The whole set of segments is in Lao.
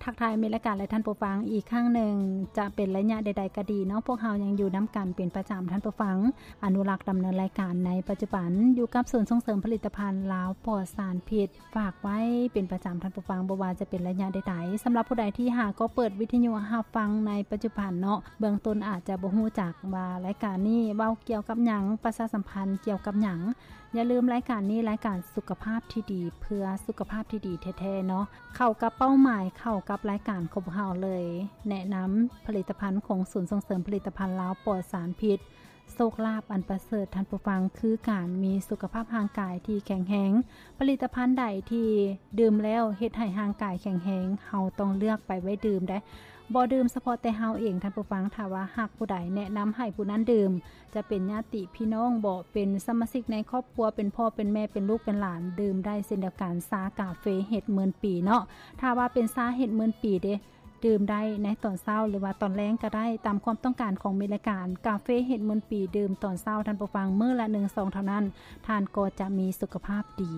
ທັກທາຍມິດລາຍການ ແລະ ທ່ານຜູ້ຟັງອີກຄັ້ງໜຶ່ງ. ຈະເປັນໄລຍະໃດໆກໍດີເນາະ, ພວກເຮົາຍັງຢູ່ນຳກັນເປັນປະຈຳ, ທ່ານຜູ້ຟັງ. ອະນຸລັກດຳເນີນລາຍການໃນປັດຈຸບັນ ຢູ່ກັບສູນສົ່ງເສີມຜະລິດຕະພັນລາວປອດສານພິດ ຝາກໄວ້ເປັນປະຈຳ, ທ່ານຜູ້ຟັງ, ບໍ່ວ່າຈະເປັນໄລຍະໃດໆ. ສຳລັບຜູ້ໃດທີ່ຫາກໍເປີດວິທະຍຸຮັບຟັງໃນປັດຈຸບັນເນາະ, ເບື້ອງຕົ້ນອາດຈະບໍ່ຮູ້ຈັກວ່າລາຍການນີ້ເວົ້າກ່ຽວກັບຫຍັງ, ປະຊາສຳພັນກ່ຽວກັບຫຍັງ. ຢ່າລືມ, ລາຍການນີ້ລາຍການສຸຂະພາບທີ່ດີ ເພື່ອສຸຂະພາບທີ່ດີແທ້ໆເນາະ, ເຂົ້າກັບເປົ້າໝາຍ, ເຂົ້າກັບລາຍການຂອງພວກເຮົາເລີຍ. ແນະນຳຜະລິດຕະພັນຂອງສູນສົ່ງເສີມຜະລິດຕະພັນລາວປອດສານພິດ. ໂຊກລາບອັນປະເສີດ, ທ່ານຜູ້ຟັງ, ຄືການມີສຸຂະພາບຮ່າງກາຍທີ່ແຂງແຮງ. ຜະລິດຕະພັນໃດທີ່ດື່ມແລ້ວເຮັດໃຫ້ຮ່າງກາຍແຂງແຮງ, ເຮົາຕ້ອງເລືອກໄປໄວ້ດື່ມໄດ໋. ບໍ່ດື່ມສະເພາະແຕ່ເຮົາເອງ, ທ່ານຜູ້ຟັງ, ຖ້າວ່າຫາກຜູ້ໃດແນະນຳໃຫ້ຜູ້ນັ້ນດື່ມ, ຈະເປັນຍາດຕິພີ່ນ້ອງບໍ, ເປັນສະມາຊິກໃນຄອບຄົວ, ເປັນພໍ່ເປັນແມ່, ເປັນລູກເປັນຫຼານ, ດື່ມໄດ້ເຊັ່ນດຽວກັນ. ຊາກາເຟເຫັດໝື່ນປີເນາະ, ຖ້າວ່າເປັນຊາເຫັດໝື່ນປີເດ, ດື່ມໄດ້ໃນຕອນເຊົ້າ ຫຼືວ່າຕອນແລງກໍໄດ້, ຕາມຄວາມຕ້ອງການຂອງມິດລາຍການ. ກາເຟເຫັດໝື່ນປີ ດື່ມຕອນເຊົ້າ, ທ່ານຜູ້ຟັງ, ມື້ລະໜຶ່ງຊອງເທົ່ານັ້ນ, ທ່ານກໍຈະມີສຸຂະພາບດີ.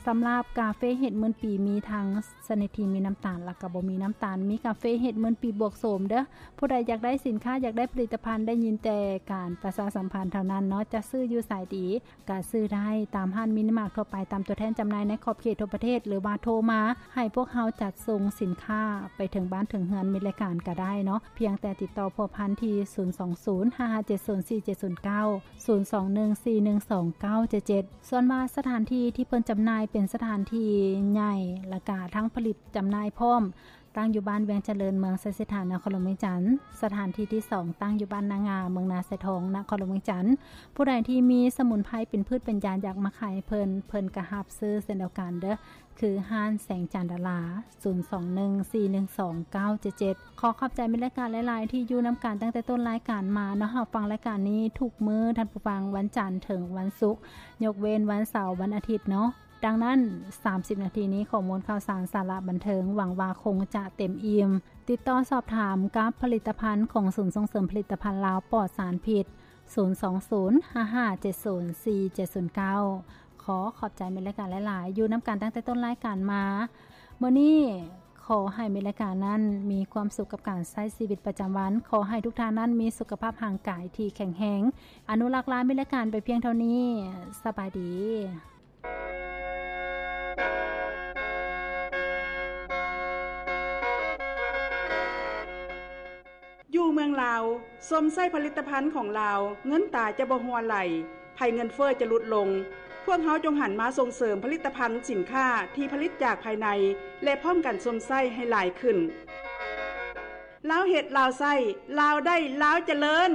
ສຳລັບກາເຟເຫັດໝື່ນປີ ມີທັງຊະນິດທີ່ມີນ້ຳຕານ ແລະ ກໍບໍ່ມີນ້ຳຕານ. ມີກາເຟເຫັດໝື່ນປີບວກໂສມເດີ້. ຜູ້ໃດຢາກໄດ້ສິນຄ້າ, ຢາກໄດ້ຜະລິດຕະພັນ, ໄດ້ຍິນແຕ່ການປະຊາສຳພັນເທົ່ານັ້ນເນາະ, ຈະຊື້ຢູ່ໃສດີ? ກະຊື້ໄດ້ຕາມຮ້ານມິນິມາດທົ່ວໄປ, ຕາມຕົວແທນຈຳໜ່າຍໃນຂອບເຂດທົ່ວປະເທດ ຫຼືວ່າໂທມາໃຫ້ພວກເຮົາຈັດສົ່ງສິນຄ້າໄປເຖິງບ້ານເຖິງເຮືອນມິດລາຍການກະໄດ້ເນາະ. ພຽງແຕ່ຕິດຕໍ່ພົວພັນທີ່ ສູນສອງສູນ ຫ້າຫ້າເຈັດສູນ ສີ່ເຈັດສູນເກົ້າ ສູນສອງໜຶ່ງ ສີ່ໜຶ່ງສອງ ເກົ້າເຈັດເຈັດ. ສ່ວນວ່າສະຖານທີ່ທີ່ເພິ່ນຈຳໜ່າຍເປັນສະຖານທີ່ໃຫຍ່ ແລະ ກະທັງຜະລິດຈຳໜ່າຍພ້ອມ, ຕັ້ງຢູ່ບ້ານວຽງຈະເລີນ ເມືອງໄຊເສດຖາ ນະຄອນຫຼວງວຽງຈັນ. ສະຖານທີ່ທີສອງ ຕັ້ງຢູ່ບ້ານນາງາ ເມືອງນາຊາຍທອງ ນະຄອນຫຼວງວຽງຈັນ. ຜູ້ໃດທີ່ມີສະໝຸນໄພເປັນພືດເປັນຢາ ຢາກມາຂາຍເພິ່ນ, ເພິ່ນກະຮັບຊື້ເຊັ່ນດຽວກັນເດີ້, ຄືຮ້ານແສງຈັນດາລາ ສູນສອງໜຶ່ງ ສີ່ໜຶ່ງສອງ ເກົ້າເຈັດເຈັດ. ຂໍຂອບໃຈມິດລາຍການຫຼາຍໆ ທີ່ຢູ່ນຳກັນຕັ້ງແຕ່ຕົ້ນລາຍການມາເນາະ. ຮັບຟັງລາຍການນີ້ທຸກມື້, ທ່ານຜູ້ຟັງ, ວັນຈັນເຖິງວັນສຸກ, ຍົກເວັ້ນວັນເສົາ, ວັນອາທິດເນາະ. ດັ່ງນັ້ນ, ສາມສິບນາທີນີ້ ຂໍ້ມູນຂ່າວສານ, ສາລະບັນເທີງ, ຫວັງວ່າຄົງຈະເຕັມອີ່ມ. ຕິດຕໍ່ສອບຖາມກັບຜະລິດຕະພັນຂອງສູນສົ່ງເສີມຜະລິດຕະພັນລາວປອດສານພິດ ສູນສອງສູນ ຫ້າຫ້າເຈັດສູນ ສີ່ເຈັດສູນເກົ້າ. ຂໍຂອບໃຈມິດລາຍການຫຼາຍໆ ຢູ່ນຳກັນຕັ້ງແຕ່ຕົ້ນລາຍການມາ. ມື້ນີ້ຂໍໃຫ້ມິດລາຍການນັ້ນມີຄວາມສຸກກັບການໃຊ້ຊີວິດປະຈຳວັນ. ຂໍໃຫ້ທຸກທ່ານນັ້ນມີສຸຂະພາບຮ່າງກາຍທີ່ແຂງແຮງ. ອະນຸລັກລາມິດລາຍການໄປພຽງເທົ່ານີ້. ສະບາຍດີ. ຢູ່ເມືອງລາວ, ຊົມໃຊ້ຜະລິດຕະພັນຂອງລາວ, ເງິນຕາຈະບໍ່ຮົ່ວໄຫຼ, ໄພເງິນເຟີ້ຈະຫຼຸດລົງ. ພວກເຮົາຈົ່ງຫັນມາສົ່ງເສີມຜະລິດຕະພັນສິນຄ້າທີ່ຜະລິດຈາກພາຍໃນ ແລະ ພ້ອມກັນຊົມໃຊ້ໃຫ້ຫຼາຍຂຶ້ນ. ລາວເຮັດ, ລາວໃຊ້, ລາວໄດ້, ລາວຈະເລີນ.